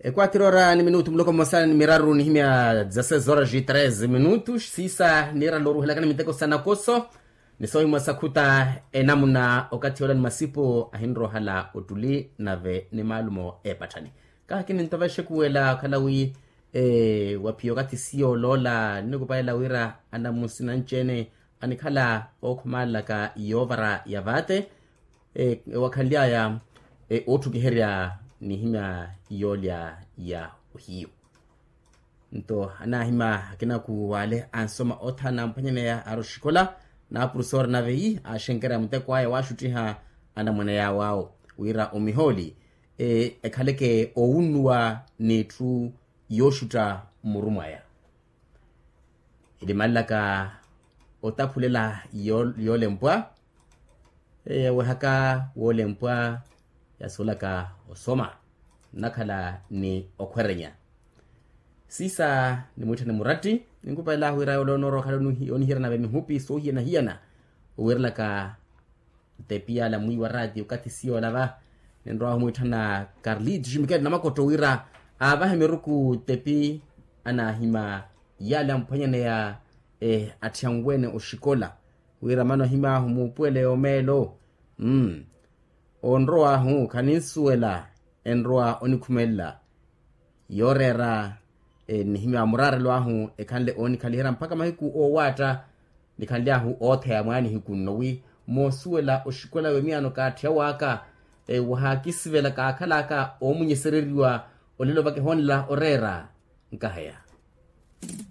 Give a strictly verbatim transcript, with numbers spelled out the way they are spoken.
Ekwatira ora ni minutu muloko mmosa ni miraru nihimya za seis horas e treze minutos siisa niirala oruhelakana miteko sa nakoso. Ni soohimwa sakhuta enamuna okathi yoola ni masipu ahinrohala ottuli nave ni maalumo eepatthani. Kaha kinintovexe kuwela okhala wi waphiya okathi siyo oloola ninikupalela wira anamusi nanci-ene anikhala ookhumalelaka yoovara ya vaate ewakhanly'aya ootthukiherya nihimya yoolya ya ohiyu. Nto anaahima akinaku w'ale ansoma othana amphwanyaneya ari oxikola na apurusoori nave ii aaxenkerya muteko aya waaxuttiha anamwane yaawo awo wira omihooli ekhaleke owunnuwa n'itthu yooxutta mmuru mwaya. Elimalelaka otaphulela yoolempwa yawehaka woolempwa yasuwelaka osoma nnakhala ni okhwerenya. Siisa nimwiitthane muratti ninkupalela wira yoole onoorowa okhala onihiyana nave mihupi soohiyana-hiyana owiirelaka tepi yala mwiiwa raati okathi siyo olava. Ninrowa humwiitthana karlito ximikeli namakotto wira aavahe miruku tepi anaahima yala amphwanyaneya atthi anwene oxikola wira mano ahim'ahu muupuwele yoomeelo. Onrow'ahu khaninsuwela enrowa onikhumelela yooreera nihimya muraarelo ahu ekhanle oonikhaliherya mpakha mahiku oowaatta nikhanly'ahu ootheya mwaanihiku nno wi moosuwela oxikola wemiyano kaatthiya w'aka wahaakisivela kaakhal'aka oomunyesereriwa olelo vakihoonela oreera. Nkaheya.